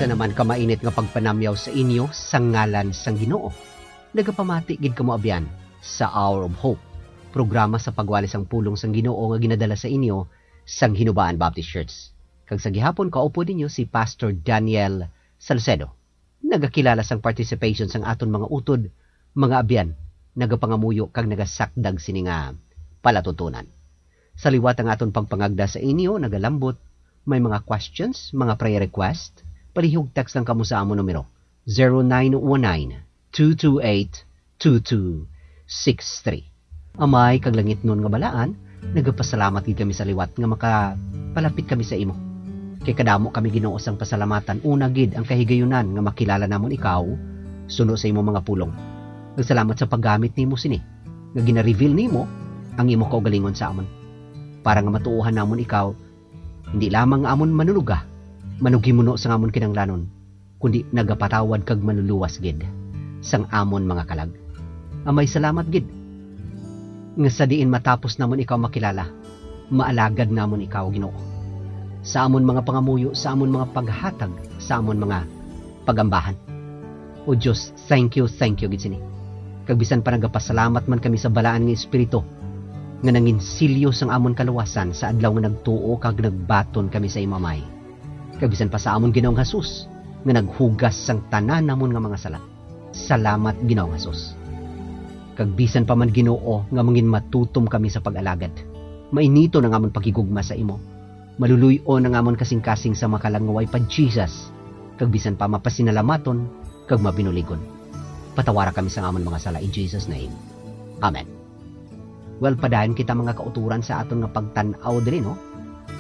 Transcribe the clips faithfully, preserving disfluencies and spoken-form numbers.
Sa naman ka mainit nga pagpanamyaw sa inyo sa ngalan sang Ginoo. Nagapamati gid kamo abyan sa Hour of Hope, programa sa pagwali sang pulong sang Ginoo nga ginadala sa inyo sang Hinubaan Baptist Church. Kag sa gihapon, kaupod ninyo si Pastor Daniel Salcedo. Nagakilala sang participation sang aton mga utod, mga abyan, nagapangamuyo kag nagasakdag sini nga palatuntunan. Sa liwat ang aton pagpangagda sa inyo, nagalambot, may mga questions, mga prayer request, palihog text lang kamo sa amon numero, zero nine one nine, two two eight, two two six three. Amay kag langitnon nga balaan, nagapasalamat gid kami sa liwat nga makapalapit kami sa imo. Kay kadamo kami, Ginoo, sang pasalamatan, una gid ang kahigayunan nga makilala namon ikaw suno sa imo mga pulong. Nagsalamat sa paggamit nimo sini, nga gina-reveal nimo ang imo kaugalingon sa amon, para nga matuohan namon ikaw, hindi lamang nga amon manunuga, manughimuno sang amon kinahanglanon, kundi nagapatawad kag manluluwas gid sang amon mga kalag. Amay, salamat gid nga sa diin matapos namon ikaw makilala, maalagad namon ikaw, Ginoo, sa amon mga pangamuyo, sa amon mga paghatag, sa amon mga pagambahan. O Dios, thank you, thank you gid sini. Kag bisan pa nagapasalamat man kami sa Balaan nga Espiritu nga nanginsilyo sang amon kaluwasan sa adlaw nga nagtuo kag nagbaton kami sa imo, Amay. Kag bisan pa sa amon Ginoong Jesus nga naghugas sang tanan namon nga mga sala. Salamat, Ginoong Jesus. Kag bisan pa man, Ginoo, nga mangin matutom kami sa pag-alagad, mainiton ang amon paghigugma sa imo. Maluluy-on ang amon kasing-kasing sa makalag nga way pa Jesus, kag bisan pa mapasinalamaton kag mabinuligon. Patawara kami sa amon mga sala in Jesus' name. Amen. Well, padayon kita, mga kauturan, sa aton nga pagtan-aw diri, no?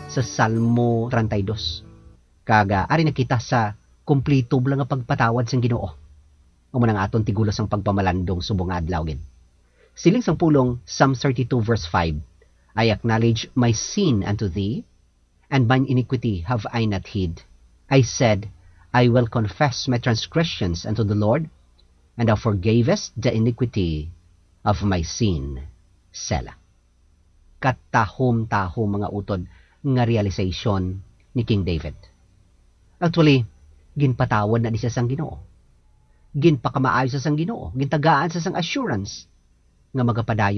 Sa Salmo treinta y dos. Kag, ah, ari na kita sa kumplito bala nga pagpatawad sang Ginoo. Amo na nga aton tigulos ang pagpamalandong subong nga adlaw gid. Siling sang pulong, Psalm thirty-two verse five, "I acknowledge my sin unto thee, and mine iniquity have I not hid. I said, I will confess my transgressions unto the Lord, and thou forgavest the iniquity of my sin." Selah. Katahom-tahom, mga utod, nga realization ni King David. Actually, ginpatawad na di siya sang Ginoo. Ginpakamaayo siya sang Ginoo. Gintagaan siya sang assurance nga magapadayon